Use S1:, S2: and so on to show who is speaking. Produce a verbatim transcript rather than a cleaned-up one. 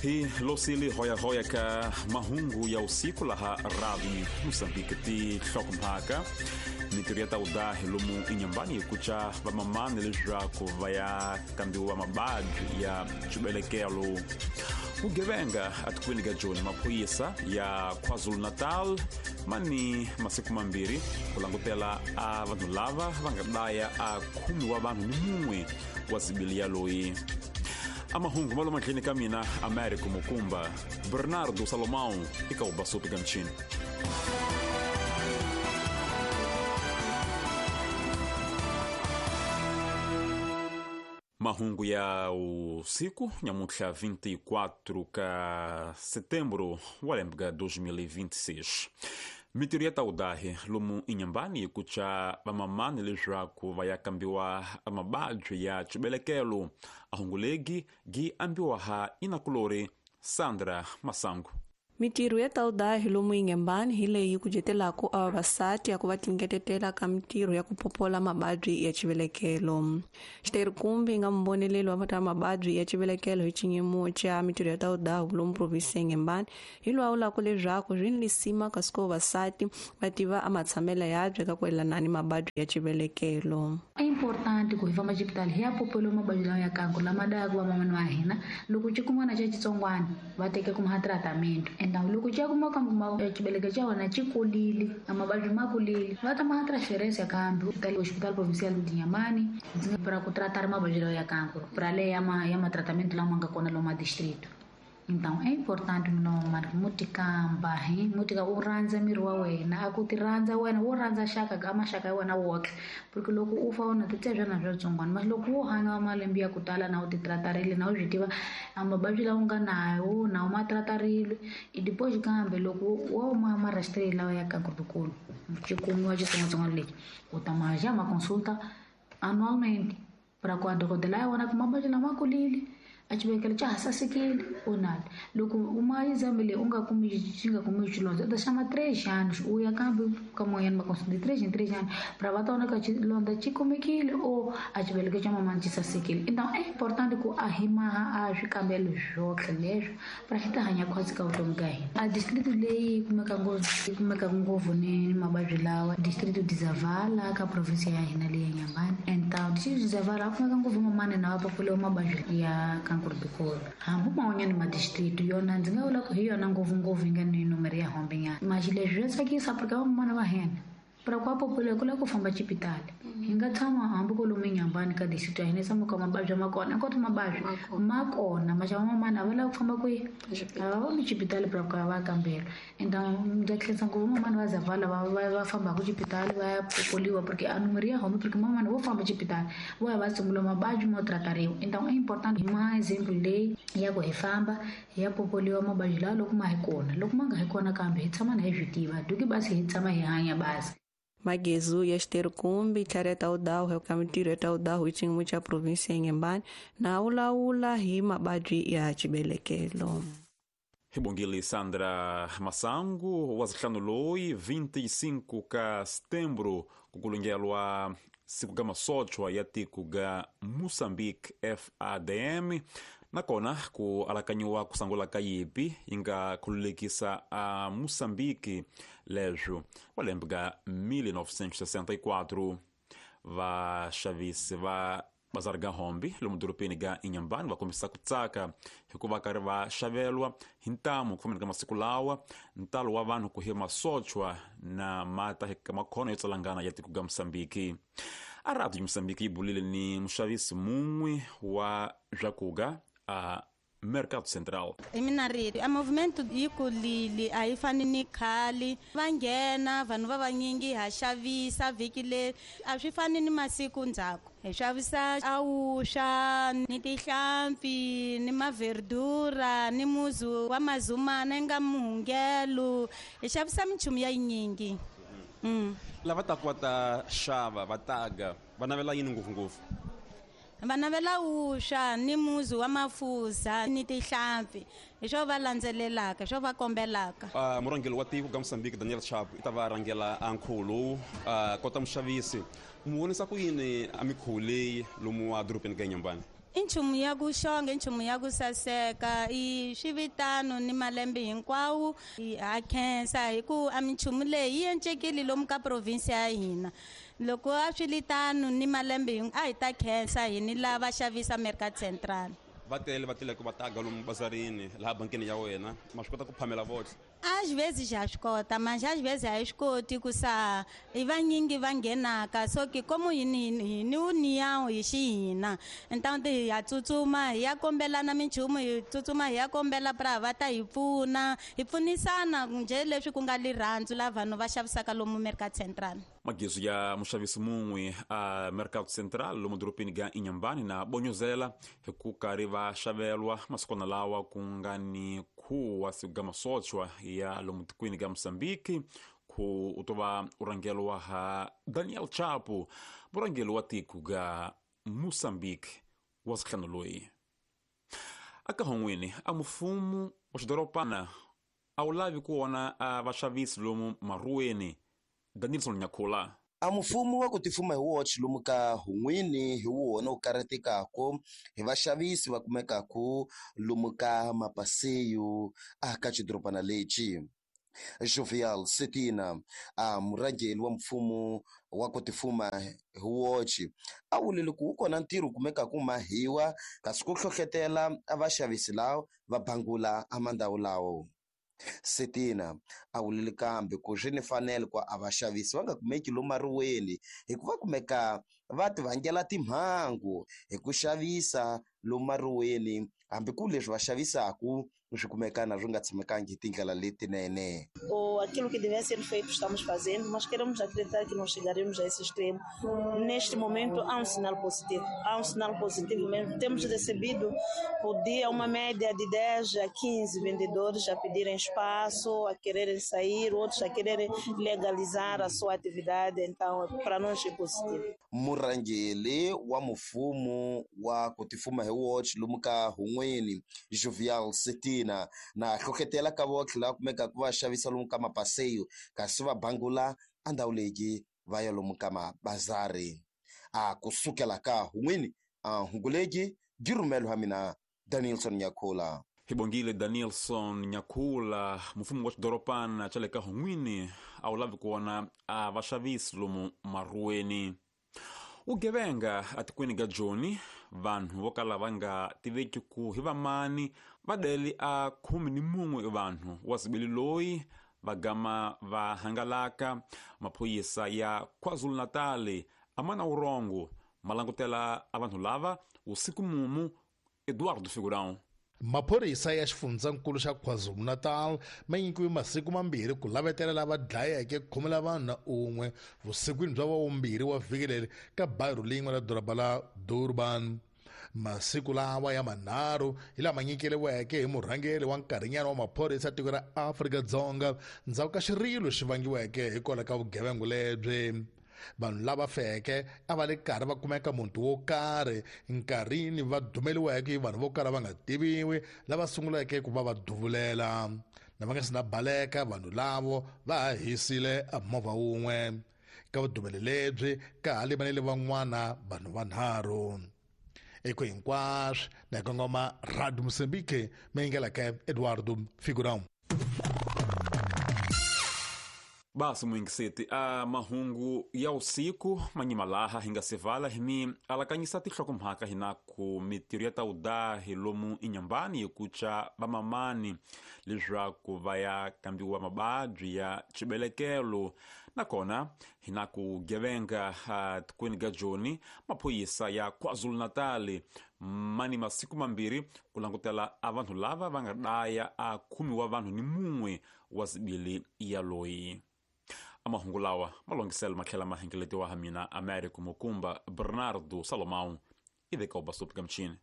S1: Hi losili hoya hoya ka mahungu ya usiku laha Radio Moçambique ti hlokomhaka mintirho ya tawudahi lomu inyambani kucha vamamani leswaku va ya kambiwa mabadhi ya xibelekelo. Vugevenga atikweni ka Joni maphorisa ya KwaZulu-Natal mani masiku mambirhi ku langutela a vanhu lava va nga dlaya a khume wa vanhu ni mun'we wa zibiliya loyi. Amahungu malo matlheni ka mina Américo Mukumba, Bernardo Salomão eka Ubasupi ka Mchini. Mahungu ya usiku nyamuntlha vinte e quatro ka setembro wa lembe ka dois mil e vinte e seis. Mintirho ya tawudahi lomu inyambani kucha vamamani leswaku va ya kambiwa mabadhi ya xibelekelo. Ahungulegi gi ambiwa ha inakulori Sandra Masangu.
S2: Mintirho ya tawudahi lomu inyambani hi leyi ku jetelaka a vavasati ya ku va tingetetela ka mintirho ya ku popola mabadhi ya xivelekelo. Xiterikumbi yi nga mboneleli wa ta mabadhi ya xivelekelo hi xinyimo xa mintirho ya tawudahi lomu provinsi ya Inhambane hi lwawulaka leswaku swi ni lisima kasi ku vavasati va tiva a matshamelo yabye ka ku yelana ni mabadhi ya xivelekelo.
S3: É importante ku hi famba xipitali hi ya popela mabadhi lawa ya kanku lama dayaka vamamani wa hina loko xikumana xa xitsongwana va teka kuma tratamento. Então loko xa kuma kambe xibeleke xa wena xi kulile a mavabyi ma kulile va ta ma transferência kambe hospital provincial de Inhambane para ku tratar mavabyi lawa ya kanku para le ya ma ya ma tratamento lama nga kona lomu distrito. Então é importante mino mutikamba hi mutika u rhandza miri wa wena a ku ti rhandza wena wo rhandza xaka ka maxaka ya wena woxe porque loko u fa wona ti tshebya na swa mas loko wo hanya malembe ya ku tala na u ti tratarile na u swi tiva a mavabyi lawa u nga nawo na u ma tratarile i depois kambe loko wo ma ma rastreile lawa ya kankulu xikumiwa xitsongwatsongwana lexi u ta ma ja ma consulta anualmente para ku a dokodela ya wona ku mavabyi lama kulile a xibelekelo xa ha sasekile onali loko u ma exame leyi u nga kumi xi nga kumi xilondza u ta xama três anos u ya kambe ka moyani ma consulta de três em três anos para va ta vona ka xilondza xi kumekile ou a xibelekelo xa mamani xi sasekile. Então é importante ku a hi maha a swikambelo swotlhe leswo para hi ta hanya khwatsi ka vutomi ka hina. A distrito leyi kumeka ngopfu yi kumeka ngopfu ni mavabyi lawa distrito de Zavala ka provinsia ya hina leyi ya Inhambane. Então distrito de Zavala kumeka ngopfu mamani na va populiwa mavabyi ya kankurubikolo hambi man'wanyana madistrito yona ndzi nga vula ku hi yona ngopfungopfu yi nga ni numero ya hombe nyana maxi leswi swa tsakisa porque vamamana va hina para ku apopula ku lava ku famba xipitali hi nga tshama hambi ko lomu Inhambane ka distrito ya hina tshama ka mavabyi ma kona hinkwato mavabyi ma kona maxa vamamana a va lava ku famba kwihi a va voni xipitali para ku ya va kambela. Então ndza khensa ngopfu vamamana va Zavala va va va fambaka xipitali va ya popoliwa porque a numero ya home porque mamana vo famba xipitali vo ya va sungula mavabyi mo tratariwa. Então é importante ma exemplo leyi ya ku hi famba hi ya popoliwa mavabyi lawa loko ma hi kona loko ma nga hi kona kambe hi tshama na hi swi tiva duki basi hi tshama hi hanya basi.
S2: Magezu ya Xiterikumbi tlhari ya tawudahu ka mintirho ya tawudahu hi xiyimo xa provinsi ya Inhambane na wulawula hi mabadhi ya xibelekelo.
S1: Hi bongile Sandra Masangu wa zihlanu loyi vinte e cinco ka setembro ku kulungelwa siku ka masochwa ya tiko ga Moçambique F A D M nakona ku alakanyiwa ku sangula ka yipi yi nga khululekisa a Moçambique leswo wa lembe ga mil novecentos e sessenta e quatro. Vaxavisi va bazari ga hombi lomu dorobeni ga Inhambane va kombisa ku tsaka hikuva karhi va xavelwa hi ntamu ku fambeni ka masiku lawa ntalo wa vanhu ku hi masochwa na mata ka makhono yo tsalangana ya tiko ga Moçambique. A Radio Moçambique yi bulile ni muxavisi mun'we wa swakuga a Mercado Central.
S4: Hi mina rito a movimento yi kulile a yi fani ni khale va nghena vanhu va vanyingi ha xavisa vhiki leri a swi fani ni masiku ndzhaku hi xavisa awuxa ni tihlampfi ni maverdura ni muzu wa mazumana nga muhungelo hi xavisa minchumu ya yinyingi. Mm.
S1: Lava taka va ta xava va taga va navela yini ngopfungopfu?
S4: Va navela wuswa ni muzi wa mafuza ni tihlampfi hi swo va landzelelaka hi swo va kombelaka.
S1: Uh, murhangeri wa tiko ka Mozambique Daniel Chapo i ta va rhangela a nkhuvo lowu uh, kota muxavisi mu vonisa ku yini a mikhuvo leyi lomu wa dorobeni ka Inhambane?
S4: I nchumu ya ku xonga, i nchumu ya ku saseka, i swivitano ni malembe hinkwawo. Ha khensa hi ku a minchumu leyi yi encekile lomu ka province ya hina. Loko a swi li tano ni malembe a hi ta khensa hi ni lava xavisa Mercado Central.
S5: Va tele va tele ku va taga lomu bazarini laha bankini ya wena, ma swi kota ku phamela votlhe?
S4: Às vezes já swi kota, mas às vezes a hi swi koti ku sa i vanyingi va nghenaka, so ke como hi ni hi ni união hi xihina, então hi ya tsutsuma hi ya kombelana minchumu, hi tsutsuma hi ya kombela pra va ta hi pfuna, hi pfunisana njhe leswi ku nga lirhandzu la vanhu va xavisaka lomu Mercado Central.
S1: Magizo ya muxavisi mun'we a Mercado Central lomu doropeni ga Inhambane na bonyozela hi ku karhi va xavelwa masikwana lawa ku nga ni khuwa siku ga masochwa ya lomu tikweni ga Mozambique, ku u to va u rhangelwa ha Daniel Chapo, murhangeri wa tiko ga Mozambique wa sihlanu loyi. Aka hon'wini a mufumo wa xidoropana a wu lavi ku vona a vaxavisi lomu maruweni. Danielson Nyakula.
S6: A mfumo wa ku tifuma hi woxe lomu ka hun'wini hi wona wu karhatekaku hi vaxavisi va kumekaku lomu ka mapaseyo a ka xidorobana lexi. Jovial Setina, a murhangeri wa mfumo wa ku tifuma hi woxe, a vulile ku wu kona ntirho kumekaku mahiwa kasi ku hlohlotela a vaxavisi lawa va bangula a mandhawu lawo. Setina a vulile kambe ku swi ni fanele ku a vaxavisi va nga kumeki lomu mariweni hikuva kumeka va ti vangela timhangu hi ku xavisa lomu mariweni, hambi ku leswi va xavisaku swi kumeka na swi nga tshamekangi hi tindlela letinene.
S7: Ou aquilo que deve ser feito estamos fazendo, mas queremos acreditar que não chegaremos a esse extremo. Neste momento há um sinal positivo, há um sinal positivo mesmo. Temos recebido por dia uma média de dez a quinze vendedores a pedirem espaço, a quererem sair, outros a quererem legalizar a sua atividade, então para nós é positivo.
S6: Murhangeri wa mfumo wa ku tifuma hi woxe lomu ka hun'wini Jovial Setina na hlohlotela ka votlhe lava kumekaka va xavisa lomu ka mapaseyo kasi va bangula a ndhawu leyi va ya lomu ka mabazari. A kusukela ka hun'wini a hungu legi byi rhumelo ha mina Danielson Nyakula.
S1: Hi bongile Danielson Nyakula. Mfumo wa xidoropana xa le ka hun'wini a wu lavi ku vona a vaxavisi lomu maruweni. Vugevenga atikweni ga Joni, vanhu vo kala va nga tiveki ku hi vamani va deli a khume ni mun'we vanhu wa zibili loyi va gama va hangalaka. Maphorisa ya KwaZulu-Natal a ma na wurongo ma langutela a vanhu lava usiku mumu. Eduardo Figurão.
S8: Maphorisa ya xifundzankulu xa KwaZulu-Natal ma nyikiwe masiku mambirhi ku lavetela lava dlayeke khume la vanhu na un'we vusikwini bya vumbirhi wa vhiki leri ka bayiro lin'we ra doroba la Durban. Masiku lawa ya manharhu hi lama nyikeriweke hi murhangeri wa nkarhinyana wa maphorisa tiko ra Afrika-Dzonga ndzhaku ka xirilo xi vangiweke hikwalaho ka vugevenga lebyi. Vanhu lava feke a va le karhi va kumeka muti wo karhi nkarhini va dumeliweke hi vanhu vo kala va nga tiviwi lava sunguleke ku va va duvulela. Na va nga si na baleka vanhu lavo va ha hisile a movha wun'we. Ka vudumeli lebyi ka ha limanele van'wana vanhu vanharhu. Eko hinkwaswo na kongoma Radio Mozambique meyingelaka Eduardo Figurão.
S1: Basi muingiseti a mahungu ya usiku manyima laha hi nga sivala hi mi alakanyisa tinhlokomhaka hina ku mitirho ya ta udahi lomu Inhambane hi kuca vamamani leswaku va ya kambiwa mababyi ya xibelekelo. Nakona hina ku gevenga tikweni ga Joni, maphorisa ya KwaZulu-Natal mani masiku mambirhi ku langutela a vanhu lava va nga daya a khumiwa vanhu ni mun'we wa zibili ya loyi. Amahungu lawa malongiselo matlhela ma hengeletiwa ha mina Américo Mukumba Bernardo Salomão iveka ubasupi ka mchini.